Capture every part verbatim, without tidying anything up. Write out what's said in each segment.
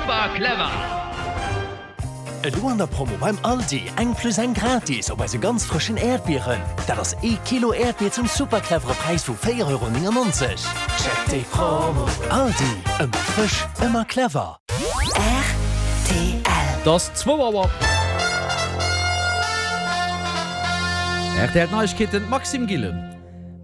Super clever! Elo an der Promo beim Aldi, eng plus eng gratis op eise ganz frëschen Äerdbieren. Dat ass ee Kilo Äerdbier zum super clevere Präis vu véier Euro néngennonzeg. Check déi Promo! Aldi, ëmmer frësch, ëmmer clever. Rtl. Et ass zwou Auer. Rtl Neiegkeeten, Maxime Gillen.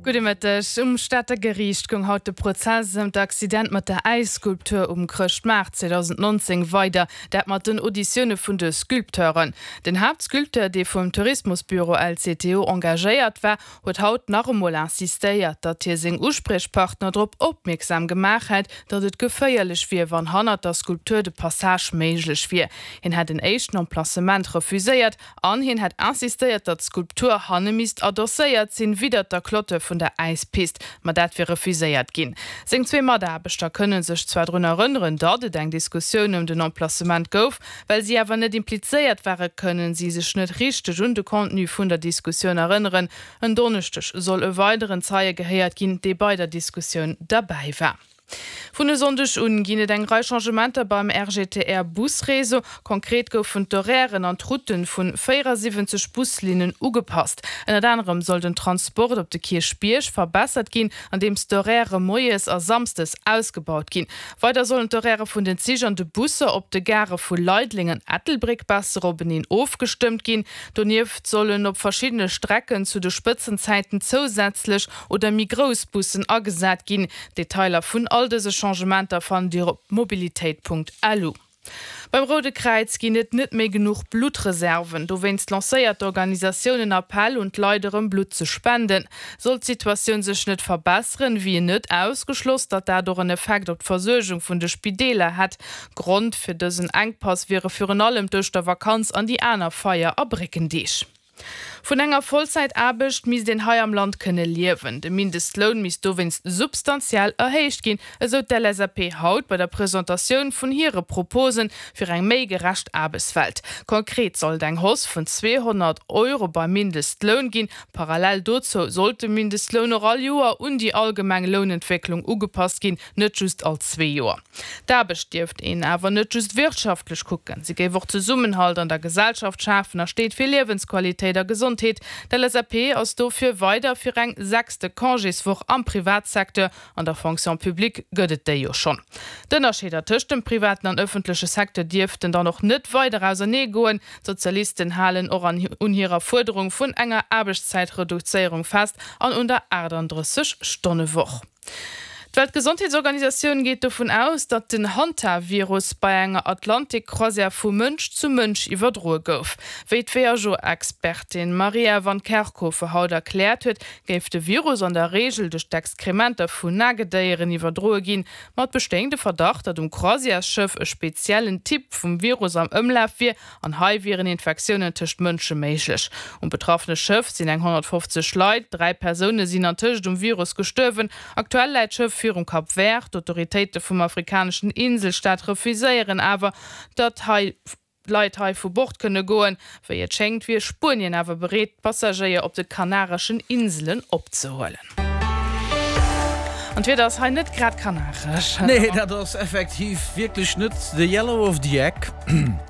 Gudde Mëtteg. Um Stater Geriicht goung haut de Prozess ëm d'Accident mat der Äisskulptur um Chrëschtmaart zweedausendnonzéng weider, dat mat den Auditioune vun de Sculpteuren. Den Haaptsculpteur, dee vum Tourismusbüro L C T O engagéiert war, huet haut nach emol insistéiert, datt hie seng Uspriechpartner drop opmierksam gemaach hätt, datt et geféierlech wier, wann hannert der Skulptur de Passage méiglech wier. Hien hätt en éischten Emplacement refuséiert an hien hätt insistéiert, datt d'Skulptur hanne misst adosséiert sinn, widdert der Clôture vun der Äispist, ma dat wier refuséiert ginn. Seng zwee Mataarbechter kënne sech zwar drun erënneren, datt et eng Diskussioun ëm den Emplacement gouf, well si awer net implizéiert ware kënne si sech net richteg un de Contenu vun der Diskussioun erënneren. En Donneschdeg soll e weideren Zeie gehéiert ginn, dee bei der Diskussioun derbäi war. Vun e Sonndeg un ginn et eng Rei Changementer beim R G T R Busreseau. Konkret goufen d'Horairen an d'Routen vun véierasiwwenzeg Buslinnen ugepasst. Ënnert anerem soll den Transport op de Kierchbierg verbessert ginn, andeems d'Horairë moies a samsdes ausgebaut ginn. Weider sollen d'Horairë vun den Zich an de Busser op de Garë vu Leideleng an Ettelbréck besser openeen ofgestëmmt ginn. Donieft sollen op verschiddene Strecken zu de Spëtzenzäiten zousätzlech oder méi grouss Bussen agesat ginn. Detailer vun all dëse Changementer fannt Dir op mobilitéit Punkt lu. Beim Roude Kräiz ginn et net méi genuch Bluttreserven. Dowéinst lancéiert d'Organisatioun en Appell un d'Leit erëm Blutt ze spenden. Sollt d'Situatioun sech net verbesseren, wier net ausgeschloss, datt dat och en Effekt op d'Versuergung vun de Spideeler hätt. Grond fir dësen Enkpass wiere virun allem d'Ouschtervakanz an déi aner Feier a Bréckendeeg. Vun enger Vollzäitaarbecht misst een hei am Land kënne liewen. De Mindestloun misst dowéinst substantiell erhéicht ginn, esou d'L S A P haut bei der Presentatioun vun hire Propose fir eng méi gerecht Aarbechtswelt. Konkret soll et eng Hausse vun zweehonnert Euro beim Mindestloun ginn. Parallel dozou sollt de Mindestloun och all Joer un déi allgemeng Lounentwécklung ugepasst ginn, net just all zwee Joer. D'Aarbecht dierft een awer net just wirtschaftlech kucken, si géif och Zesummenhalt an der Gesellschaft schafen a steet fir Liewensqualitéit a Gesondheet. D'L S A P ass dofir weider fir eng sechste Congéswoch am Privatsecteur, an der Fonction publique gëtt et déi jo schonn. D'Ënnerscheeder tëscht dem privaten an ëffentleche Secteur dierften dann och net weider ausernee goen. D'Sozialisten halen och un hirer Fuerderung vun enger Aarbechtszäitreduzéierung fest an un der achtandrësseg Stonnewoch. D'Weltgesondheetsorganisatioun geet dovun aus, datt den Hantavirus bei enger Atlantik-Croisière vu Mënsch zu Mënsch iwwerdroe gouf. Wéi d'W H O-Expertin Maria Van Kerkhove haut erkläert huet, géif de Virus an der Reegel duerch d'Exkrementer vun Nagedéieren iwwerdroe ginn. Ma et bestéing de Verdacht, datt um Croisièresschëff e speziellen Typ vum Virus am Ëmlaf wier an hei wieren Infektiounen tëscht Mënsche méiglech. Um betraffene Schëff sinn eng honnertfofzeg Leit, dräi Persoune sinn antëscht um Virus gestuerwen. Aktuell läit d'Schëff virum Cap Vert. D'Autoritéite vum afrikaneschen Inselstaat refuséieren awer, datt hei Leit hei vu Bord kënne goen. Wéi et schéngt, wier Spuenien awer bereet, d'Passagéier op de Kanareschen Inselen opzehuelen. An d'Wieder ass hei net grad kanaresch. Nee, dat ass effektiv wierklech net the yellow of the egg.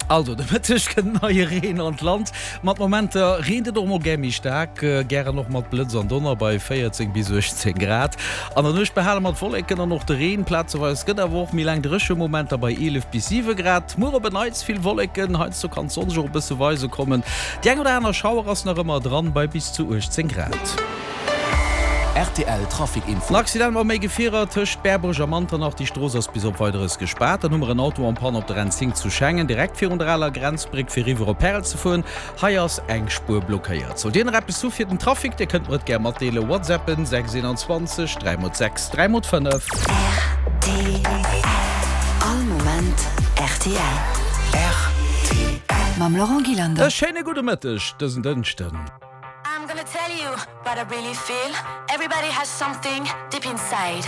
Also, de Mëtteg kënnt neie Reen an d'Land. Mat Momenter reent et och mol gär méi staark, gären och mat Blëtz an Donner bei véierzéng bis uechtzéng Grad. An der Nuecht behale mer d'Wolleken an och de Reen. Plazeweis gëtt awer och méi laang dréche Momenter bei eelef bis siwe Grad. Muer op en Neits vill Wolleken, heiansdo kann d'Sonn sech och e bësse weise kommen. Déi eng oder aner Schauer ass nach ëmmer dran bei bis zu uechtzéng Grad. R T L Trafic Info. En Accident mat méi Gefierer tëscht Berbuerg a Manternach, déi Strooss ass bis op Weideres gespaart. Dann hu mer en Auto en panne op der N zéng zu Schengen, direkt virun der aler Grenzbréck fir eriwwer op Pärel ze fueren. Hei ass eng Spuer blockéiert. Sollt Dir nach eppes hu fir den Trafic, Dir kënnt mer et gär matdeelen, WhatsAppen sechs einundzwanzeg dräi mol sechs dräi mol fënnef. R T L. All Moment R T L. R T L. Mam Laurent Gillander. E schéine gudde Mëtteg dësen Dënschden. I'm gonna tell you what I really feel. Everybody has something deep inside.